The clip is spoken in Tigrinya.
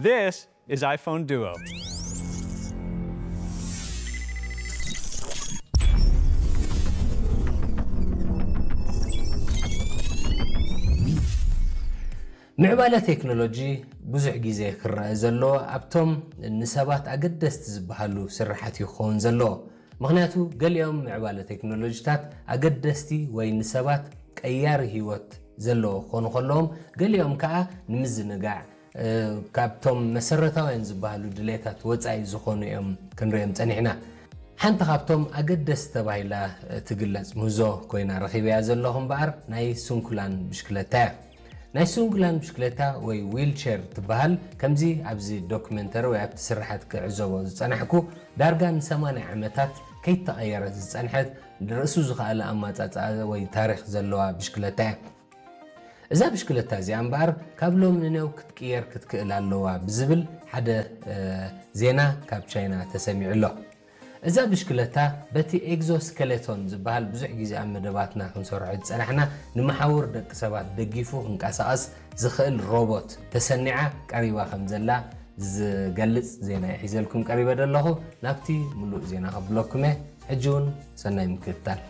This is iPhone Duo. ምዕባለ ቴክኖሎጂ ብዙሕ ግዜ ክረአ ዘሎ ኣብቶም ንሰባት ኣገደስቲ ዝበሃሉ ስራሓት እዩ ክኸውን ዘለዎ። ምኽንያቱ ገሊኦም ምዕባለ ቴክኖሎጂታት ኣገደስቲ ወይ ንሰባት ቀያሪ ህይወት ዘለዎ ክኾኑ ከለዎም፣ ገሊኦም ከዓ ንምዝንጋዕ፣ ካብቶም መሰረታውያን ዝበሃሉ ድሌታት ወፃኢ ዝኾኑ እዮም ክንሪኦም ፀኒሕና። ሓንቲ ካብቶም ኣገደስቲ ተባሂላ ትግለፅ ምህዞ ኮይና ረኺበያ ዘለኹ እምበኣር ናይ ስንኩላን ብሽክለታ እያ። ናይ ስንኩላን ብሽክለታ ወይ ዊልቸር ትበሃል ከምዚ ኣብዚ ዶክመንተሪ ወይ ኣብቲ ስራሓት ክዕዘቦ ዝፀናሕኩ ዳርጋ ን80 ዓመታት ከይተቐየረት ዝፀንሐት ርእሱ ዝኸኣለ ኣማፃፅኣ ወይ ታሪክ ዘለዋ ብሽክለታ እያ። እዛ ብሽክለታ እዚኣ እምበኣር ካብ ሎም ንነው ክትቅየር ክትክእል ኣለዋ ብዝብል ሓደ ዜና ካብ ቻይና ተሰሚዑ ኣሎ። እዛ ብሽክለታ በቲ ኤግዞስኬሌቶን ዝበሃል ብዙሕ ግዜ ኣብ መደባትና ክንሰርሖ ዝፀናሕና ንመሓውር ደቂ ሰባት ደጊፉ ክንቀሳቐስ ዝኽእል ሮቦት ተሰኒዓ ቀሪባ ከም ዘላ ዝገልፅ ዜና እየ ሒዘልኩም ቀሪበ ዘለኹ። ናብቲ ምሉእ ዜና ከብለኩም እየ። ሕጂ እውን ሰናይ ምክትታል።